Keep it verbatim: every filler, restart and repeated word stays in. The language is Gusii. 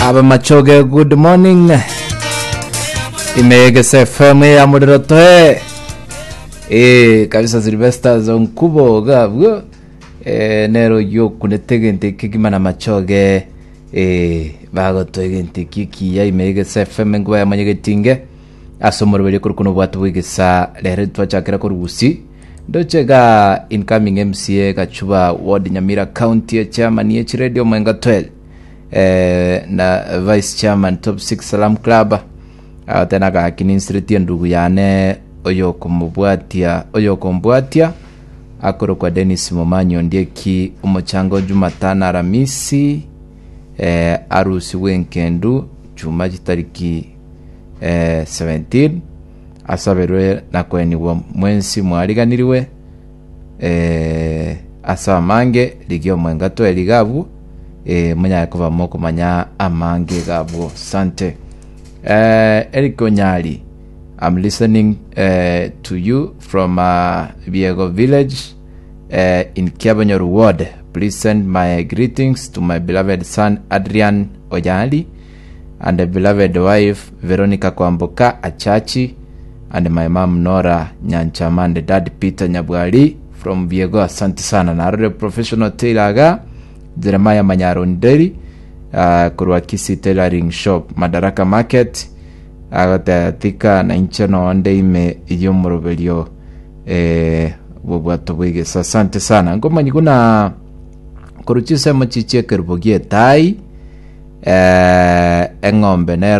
Abamachoge, good morning. Imegese F M ya muriro toe. Eh, kabisa, Sylvester Zonkubo gabwo. Eh, nero yokunete egento ekegima na machoge, eh, bagotoa egento eki ekiya. Imegese F M, enkuba yamanyegetinge ase omoroberi korokuna obwate bwegesa. Rero twachakera korugusi ndoche ga incoming M C A Gachuba Ward, Nyamira County, chairman ye chiredio Mwenga twelve, eh, na vice chairman Top six Salam Club. Tena gakininsireti endugu yane oyokomobwatia oyokombwatia akorokwa Dennis Momanyi Ondieki. Omochango Jumatano, Aramisi, eh, arusigwe enkendu chuma chitariki eh, seventeen, asaberwe na kwenigwa. Mwensi mwariganiriwe. eh, ase amange rigia omwenga tweri gabu, eh, munyare kuba mokomanya amange gabwo. Sante. eh, Eric Onyari, I'm listening uh, to you from uh, Biego village uh, in Kiabonyoru ward. Please send my greetings to my beloved son Adrian Oyali and the beloved wife Veronica Kwamboka Achachi and my mom Nora Nyanchama and dad Peter Nyabwari from Biego. Asante sana. Narore professional tailor aga Jeremiah Manyaronderi, uh, korwa Kisii Tailoring Shop, Madaraka Market, agotetika na inche nonde ime y'omoroberio eh, bobwato bwegesa. Asante sana. Ngomanyi kuna korwa chisemo chichie ekerubo gietai, eh, eng'ombe nero.